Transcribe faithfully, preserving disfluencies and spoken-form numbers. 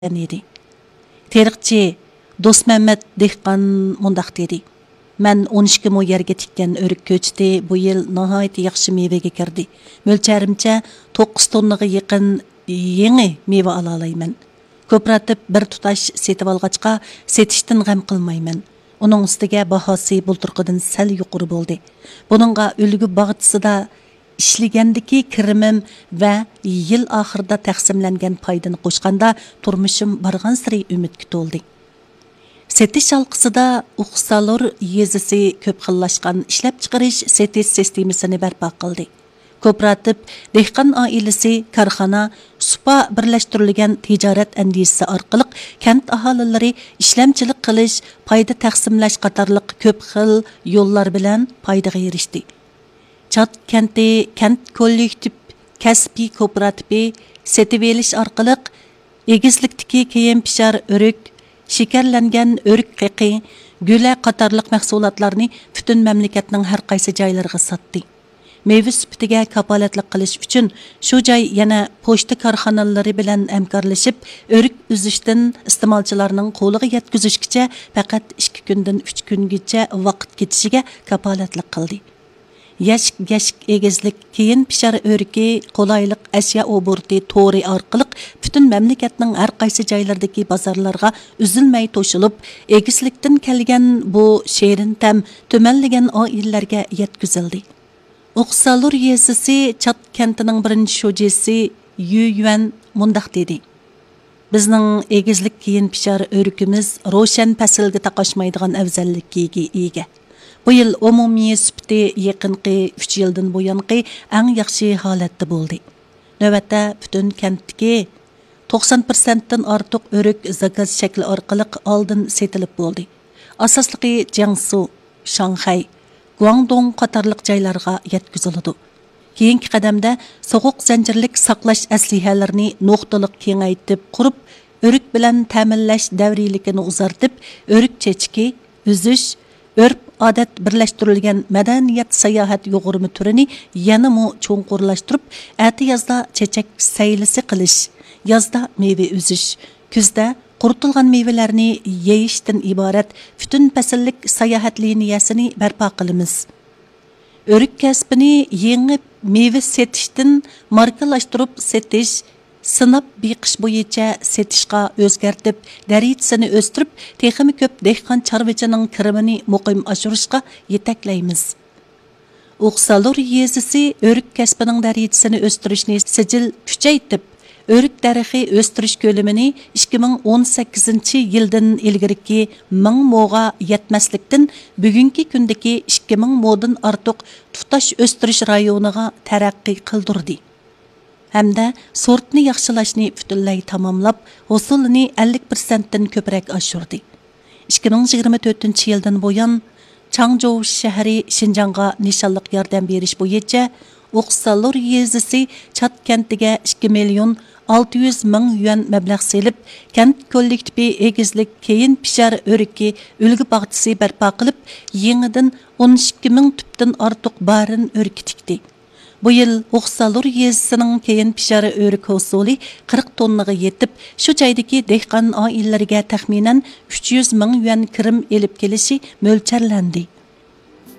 ئىدى. تېرىقچى دوستمەمەت دېھقان مۇنداق دېدى: «مەن ئون ئىككى مو يەرگە تىككەن ئۆرۈك كۆچىتى بۇ يىل ناھايىتى ياخشى مېۋىگە كىردى. مۆلچەرىمچە، توققۇز توننىغا يېقىن يېڭى مېۋە ئالالايمەن. كوپىراتىپ بىر تۇتاش سېتىۋالغاچقا، سېتىشتىن غەم قىلمايمەن. ئۇنىڭ ئۈستىگە باھاسى بۇلتۇرقىدىن سەل يۇقىرى بولدى. بۇنىڭغا ئۈلگە باغچىسىدا ئىشلىگەندىكى كىرىمىم ۋە يىل ئاخىرىدا تەقسىملەنگەن پايدىنى قوشقاندا، تۇرمۇشۇم بارغانسېرى ئۈمىدكە تولدى.» سېتىش ھالقىسىدا ئوقسالۇر يېزىسى كۆپ خىللاشقان ئىشلەپچىقىرىش سېتىش سىستېمىسىنى بەرپا قىلدى. كوپىراتىپ، دېھقان ئائىلىسى، كارخانا، سۇپا بىرلەشتۈرۈلگەن تىجارەت ئەندىزىسى ئارقىلىق كەنت ئاھالىلىرى ئىشلەمچىلىك قىلىش، پايدا تەقسىملەش قاتارلىق كۆپ خىل يوللار بىلەن پايدىغا ئېرىشتى. چات كەنتى كەنت كوللېكتىپ كەسپىي كوپىراتىپى سېتىۋېلىش ئارقىلىق ئېگىزلىكتىكى كېيىن پىشار ئۆرۈك، شېكەرلەنگەن ئۆرۈك قېقى، گۈلە قاتارلىق مەھسۇلاتلارنى پۈتۈن مەملىكەتنىڭ ھەر قايسى جايلىرىغا ساتتى. مېۋە سۈپىتىگە كاپالەتلىك قىلىش ئۈچۈن، شۇ جاي يەنە پوچتا كارخانىلىرى بىلەن ھەمكارلىشىپ، ئۆرۈك ئۈزۈشتىن ئىستېمالچىلارنىڭ قولىغا يەتكۈزۈشكىچە پەقەت ئىككى كۈندىن ئۈچ كۈنگىچە ۋاقىت كېتىشىگە كاپالەتلىك قىلدى. يەشىك يەشىك ئېگىزلىك كېيىن پىشار ئۆرۈكى قولايلىق ئەشيا ئوبوروتى تورى ئارقىلىق پۈتۈن مەملىكەتنىڭ ھەر قايسى جايلىرىدىكى بازارلارغا ئۈزۈلمەي توشۇلۇپ، ئېگىزلىكتىن كەلگەن بۇ شېرىن تەم تۈمەنلىگەن ئائىلىلەرگە يەتكۈزۈلدى. ئوقسالۇر يېزىسى چات كەنتىنىڭ بىرىنچى شۇجىسى يۈ يۈەن مۇنداق دېدى: «بىزنىڭ ئېگىزلىك كېيىن پىشار ئۆرۈكىمىز روشەن پەسىلگە تاقاشمايدىغان ئەۋزەللىككە ئىگە. بۇ يىل ئومۇمىي سۈپىتى يېقىنقى ئۈچ يىلدىن بۇيانقى ئەڭ ياخشى ھالەتتە بولدى. نۆۋەتتە پۈتۈن كەنتتىكى توقسان پىرسەنتتىن ئارتۇق ئۆرۈك زاكاز شەكلى ئارقىلىق ئالدىن سېتىلىپ بولدى. ئاساسلىقى جياڭسۇ، شاڭخەي، گۇاڭدۇڭ قاتارلىق جايلارغا يەتكۈزۈلىدۇ. كېيىنكى قەدەمدە سوغۇق زەنجىرلىك ساقلاش ئەسلىھەلىرىنى نۇقتىلىق كېڭەيتىپ قۇرۇپ، ئۆرۈك بىلەن تەمىنلەش دەۋرىيلىكىنى ئۇزارتىپ، ئۆرۈك چېچىكى، ئۈزۈش، ئۆرپ-ئادەت بىرلەشتۈرۈلگەن مەدەنىيەت ساياھەت يۇغۇرما تۈرىنى يەنىمۇ چوڭقۇرلاشتۇرۇپ، ئەتىيازدا چېچەك سەيلىسى قىلىش، يازدا مېۋە ئۈزۈش، كۈزدە قۇرۇتۇلغان مېۋىلەرنى يېيىشتىن ئىبارەت پۈتۈن پەسىللىك ساياھەت لىنىيەسىنى بەرپا قىلىمىز. ئۆرۈك كەسپىنى يېڭى مېۋە سېتىشتىن ماركىلاشتۇرۇپ سېتىش، سىناپ بېقىش بويىچە سېتىشقا ئۆزگەرتىپ، دەرىجىسىنى ئۆستۈرۈپ، تېخىمۇ كۆپ دېھقان چارۋىچىنىڭ كىرىمىنى مۇقىم ئاشۇرۇشقا يېتەكلەيمىز.» ئوقسالۇر يېزىسى ئۆرۈك كەسپىنىڭ دەرىجىسىنى ئۆستۈرۈشنى سىجىل كۈچەيتىپ، ئۆرۈك دەرىخى ئۆستۈرۈش كۆلىمىنى ئىككى مىڭ ئون سەككىزىنچى يىلدىن ئىلگىرىكى مىڭ موغا يەتمەسلىكتىن، بۈگۈنكى كۈندىكى ئىككى مىڭ مودىن ئارتۇق تۇتاش ئۆستۈرۈش رايونىغا تەرەققىي قىلدۇردى ھەمدە سورتنى ياخشىلاشنى پۈتۈنلەي تاماملاپ، ھوسۇلىنى ئەللىك پىرسەنتتىن كۆپرەك ئاشۇردى. ئىككى مىڭ يىگىرمە تۆتىنچى يىلدىن بۇيان، چاڭجوۋ شەھىرى شىنجاڭغا نىشانلىق ياردەم بېرىش بويىچە ئوقسالۇر يېزىسى چات كەنتىگە ئىككى مىليون ئالتە يۈز مىڭ يۈەن مەبلەغ سېلىپ، كەنت كوللېكتىپى ئېگىزلىك كېيىن پىشار ئۆرۈكى ئۈلگە باغچىسى بەرپا قىلىپ، يېڭىدىن ئون ئىككى مىڭ تۈپتىن ئارتۇق بارىن ئۆرۈكى تىكتى. بۇ يىل ئوقسالۇر يېزىسىنىڭ كېيىن پىشار ئۆرۈك ھوسۇلى قىرىق توننىغا يېتىپ، شۇ جايدىكى دېھقان ئائىلىلىرىگە تەخمىنەن ئۈچ يۈز مىڭ يۈەن كىرىم ئېلىپ كېلىشى مۆلچەرلەندى.